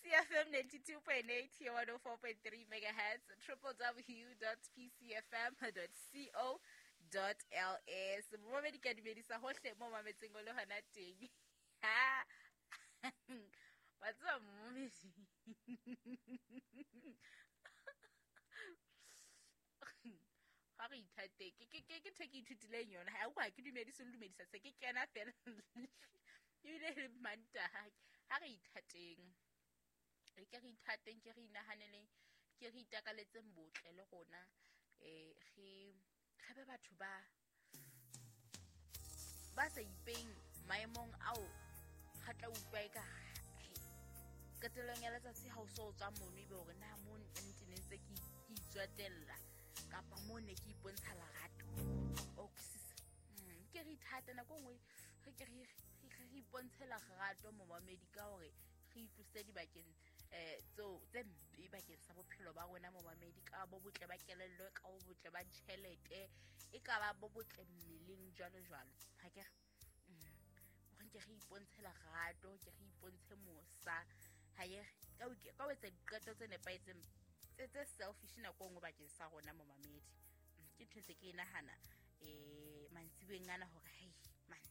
PCFM 92.8 here 104.3 megahertz, www.pcfm.co.ls. Momamedi, ke a dumedisa hohle mo mametseng o le hona teng. Ha wa tseba momamedi, ga re ithate ke ntho e ke ithutileng yona. Ha o ke dumedise le dumedisa se ke kena fela, ebile le Mantaha. Ha re ithateng, e ke re ithateng, ke re inahaneleng, ke re itakaletseng botle le rona. Re be batho ba sa ipeng maemong ao ga tla utlwa e ka qetellong ya letsatsi ha o so o tswa mono, ebe hore na mo nnete ne ntse ke itswatella kapa mo ne ke ipontsha lerato. O kwisisa? Ke re ithate nako e nngwe, re ke re ipontshe lerato, momamedi, ka hore re itlose dibakeng tseo tse mpe bakeng sa bophelo ba rona, momamedi, ka bo botle ba kelello, ka bo botle ba tjhelete, e ka ba bo botle mmeleng, jwalo jwalo. Ha ke re hore ke re ipontshe lerato, ke re ipontshe mosa, ha ye ka ho etsa diqeto tse nepahetseng tse selfish nako e nngwe bakeng sa rona, momamedi. Ke ntho ntse ke e nahana mantsibeng ana hore hei man,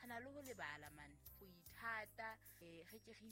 ga na le ho lebala man go ithata, re ke re